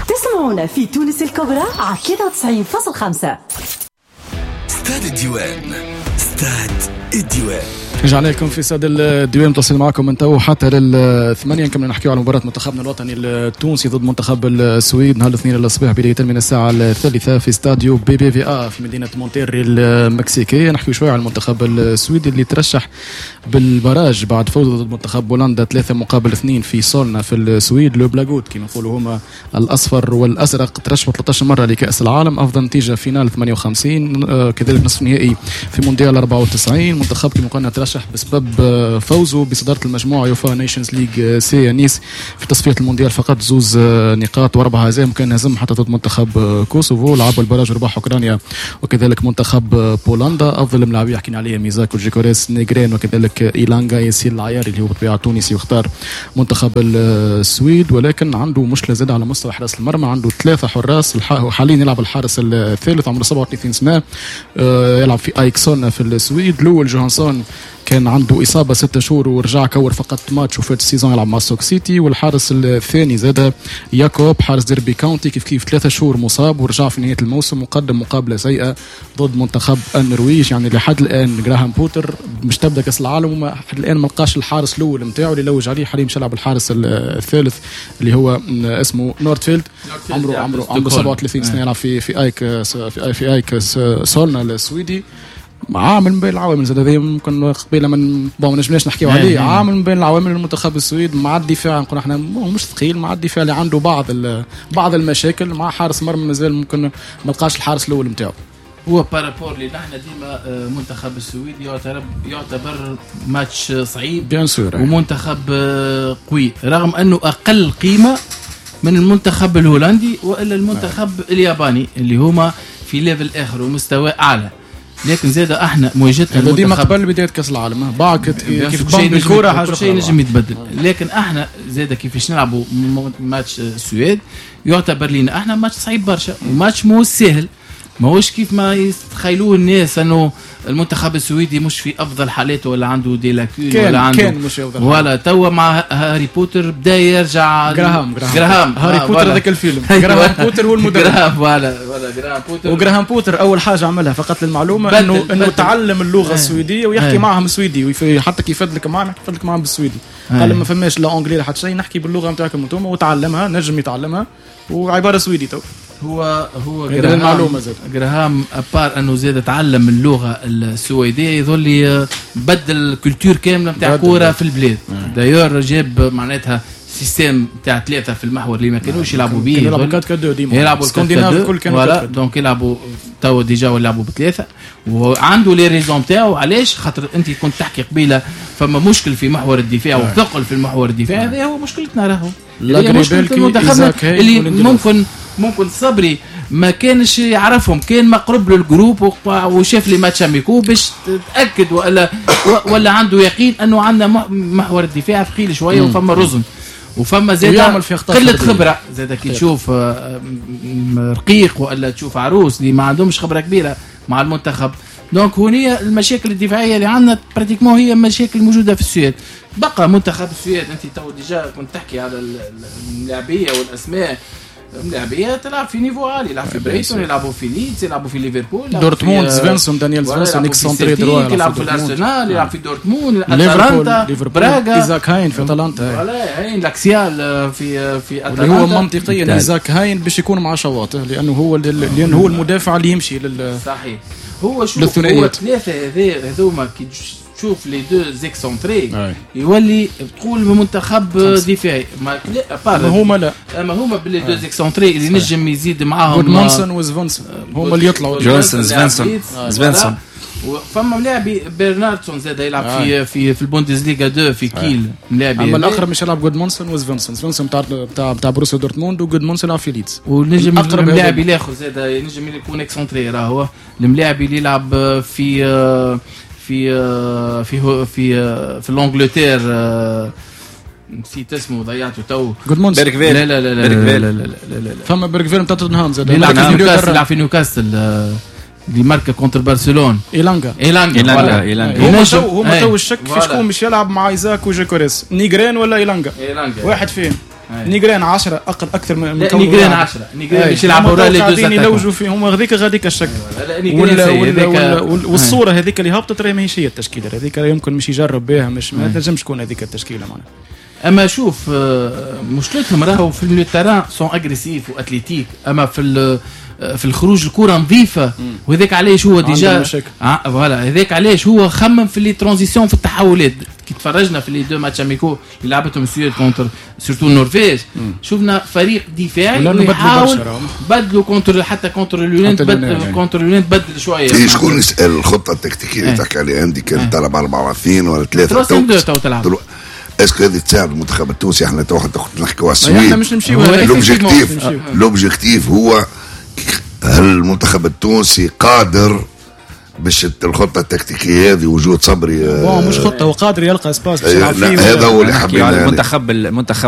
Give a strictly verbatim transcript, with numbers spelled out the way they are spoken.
تسمعونا في تونس الكبرى على ثلاثة وتسعين فاصل خمسة. ستاد الديوان، ستاد الديوان. رجعنا لكم في استاد الديوان، متواصلين معكم من تو حتى للثمانية. نكمل نحكيو على مباراة منتخبنا الوطني التونسي ضد منتخب السويد نهار الاثنين الصباح بداية من الساعة الثالثة في استاديو بي بي في ا في مدينة مونتيري المكسيكية. نحكيو شوية على المنتخب السويدي اللي ترشح بال barrage بعد فوزه ضد منتخب بولندا ثلاثة مقابل اثنين في سولنا في السويد. le blågult كما يقولوا هما الأصفر والأزرق، ترشحوا ثلاثة عشر مرة لكأس العالم، أفضل نتيجة finale ثمانية وخمسين، كذلك نصف نهائي في مونديال أربعة وتسعين. منتخب كما قلنا ترشح بسبب فوزه بصدارة المجموعة UEFA Nations League C نيس في تصفية المونديال فقط زوز نقاط واربع هزائم، كان هزم حتى ضد منتخب كوسوفو، لعبوا ال barrage وربح اوكرانيا وكذلك منتخب بولندا. افضل الملاعبين حكينا عليهم ايزاك وجيكوريس نيغرين وكذلك ايلانغا ياسين العياري اللي هو بطبيعة تونسي واختار منتخب السويد، ولكن عنده مشكلة زاد على مستوى حراس المرمى، عنده ثلاثة حراس، حاليا يلعب الحارس الثالث عمره سبعة وثلاثين سنة، يلعب في ايكسون في السويد. الاول جوهانسون كان عنده إصابة ستة شهور ورجع كور فقط ماتش وفات ال saison يلعب مع ستوك سيتي. والحارس الثاني زاد ياكوب حارس ديربي كاونتي كيف كيف ثلاثة شهور مصاب ورجع في نهاية الموسم وقدم مقابلة سيئة ضد منتخب النرويج. يعني لحد الآن جراهام بوتر مش تبدأ كأس العالم وما لحد الآن ما لقاش الحارس الأول نتاعو اللي لوج عليه، حاليا مش يلعب الحارس الثالث اللي هو اسمه نورتفيلد، عمره عمره عمره سبعة وثلاثين سنة، يلعب في في ايك في في ايك سولنا السويدي. عامل من بين العوامل زاد هذه ممكن قبيلة من bon ما نجمناش نحكيو عليه، عامل من بين العوامل المنتخب السويد مع الدفاع نقول احنا مش ثقيل، مع الدفاع اللي عنده بعض بعض المشاكل، مع حارس مرمى مازال ممكن ما لقاش الحارس الاول نتاعو. هو par rapport لي نحن ديما منتخب السويد يعتبر يعتبر ماتش صعيب bien sûr ومنتخب قوي، رغم انه اقل قيمة من المنتخب الهولندي والا المنتخب الياباني اللي هما في level اخر ومستوى اعلى، لكن زاد احنا مواجهتنا المنتخب ديما قبل بداية كاس العالم بعد كيف بان بالكرة حاجة شيء نجم يتبدل، لكن احنا زاد كيفاش نلعبوا ماتش السويد يعتبر لنا احنا ماتش صعيب برشا وماتش مو سهل، ماهوش كيف ما يتخيلوه الناس انه المنتخب السويدي مش في افضل حالاته ولا عنده des lacunes ولا عنده كان مش افضل ولا توا مع هاري بوتر بدا يرجع جراهام جراهام هاري آه بوتر هذاك الفيلم جراهام بوتر هو المدرب جراهام voilà voilà جراهام بوتر. وجراهام بوتر اول حاجة عملها فقط للمعلومة انه انه تعلم اللغة السويدية ويحكي معهم سويدي، حتى كي يفدلك معهم يفدلك معهم بالسويدي، قال ما فماش لا anglais لا حتى شيء، نحكي باللغة نتاعكم انتم، وتعلمها نجم يتعلمها وعبارة سويدي تو. هو هو جراهام جراهام à part انه زاد تعلم اللغة السويدية يظل بدل ال culture كاملة نتاع كورة في البلاد. d'ailleurs جاب معناتها système نتاع ثلاثة في المحور اللي ما كانوش يلعبوا به، يلعبوا أربعة أربعة اثنين ديما يلعبوا اسكندناف الكل كانوا donc يلعبوا تو déjà يلعبوا بثلاثة، وعنده les raisons تاعو علاش، خاطر انت كنت تحكي قبيلة فما مشكل في محور الدفاع وثقل في المحور الدفاع، هذا هو مشكلتنا راهو مشكلة المنتخب اللي ممكن ممكن صبري ما كانش يعرفهم، كان ما قرب له ال groupe وشاف les matchs amicaux باش تاكد ولا ولا عنده يقين انه عندنا محور الدفاع ثقيل شوية وفما رزن وفما زاد قلة خبره زاد كي تشوف رقيق ولا تشوف عروس اللي ما عندهمش خبره كبيرة مع المنتخب. donc هنا المشاكل الدفاعية اللي عندنا pratiquement هي مشاكل موجودة في السويد. بقى منتخب السويد انت تو déjà كنت تحكي على اللاعبيه والاسماء، ملاعبيه تلعب في niveau عالي، يلعب في بريتون، يلعبوا في ليدز، يلعبوا في ليفربول، دورتموند، سفنسون، دانيال سفنسون excentré droit، يلعب في الارسنال، يلعب في دورتموند، اتلانتا، براغا، ايزاك هاين في اتلانتا، voilà هاين l'axial في في اتلانتا، اللي هو منطقيا ايزاك هاين باش يكون مع شواطئ لانه هو لانه هو المدافع اللي يمشي لل صحيح. هو شو هو ثلاثة هذوما كي تشوف les deux excentrés يولي تقول منتخب دفاعي، ما لا هما لا اما هما ب les deux excentrés اللي نجم يزيد معاهم جودمانسون وزفنسون هما اللي يطلعوا جونسون زفنسون زفنسون. وفما ملاعبي برناردسون زاد يلعب في في في البوندسليغا اثنين في كيل ملاعبي، اما الاقرب مش يلعب جودمانسون وزفنسون، زفنسون تاع تاع تاع بروسيا دورتموند وجودمانسون يلعب في ليدز. ونجم الملاعبي الاخر زاد ينجم يكون excentré، راه هو الملاعبي اللي يلعب في في في في في l'Angleterre نسيت اسمه ضيعته تو، بيركفيل. لا لا لا لا لا لا لا لا فما بيركفيل نتاع توتنهام زاد يلعب في نيوكاسل، يلعب في نيوكاسل اللي ماركا contre برشلونة، إيلانغا إيلانغا إيلانغا إيلانغا. هما تو هما تو الشك في شكون مش يلعب مع إيزاك وجيكوريس، نيغرين ولا إيلانغا، واحد فيهم. نيجرين عشرة اقل اكثر من لا نيجرين عشرة، نيجرين باش يلعبوا ورا les deux يلوجوا فيه هما هذيك غاديك الشك. والصورة هذيك اللي هبطت راهي ماهيش هي التشكيلة هذيك، يمكن مش يجرب بها، مش ما تنجمش تكون هذيك التشكيلة معناها. اما شوف مشكلتهم راهو في ال milieu terrain sont agressifs و athlétiques، اما في في الخروج الكره نظيفة، وهذاك علاش هو déjà voilà هذاك علاش هو خمم في les transitions في التحولات. كي تفرجنا في les deux matchs amicaux اللي لعبتهم السويد contre surtout النرويج، شفنا فريق دفاعي ويحاول بدلوا contre حتى contre اليونان، بدل contre اليونان تبدل شوية. إيه شكون يسال الخطة التكتيكيه اللي تحكي عليها عندي كانت تلعب أربعة اثنين ولا ثلاثة ثلاثة تو تلعب est-ce que هذه تساعد المنتخب التونسي؟ احنا تو نحكيو على السويد، احنا مش نمشيو l'objectif l'objectif هو هل المنتخب التونسي قادر باش الخطة التكتيكيه هذه وجود صبري؟ bon مش خطه، هو قادر يلقى espace باش يلعب فيه. هذا هو اللي حبينا المنتخب المنتخب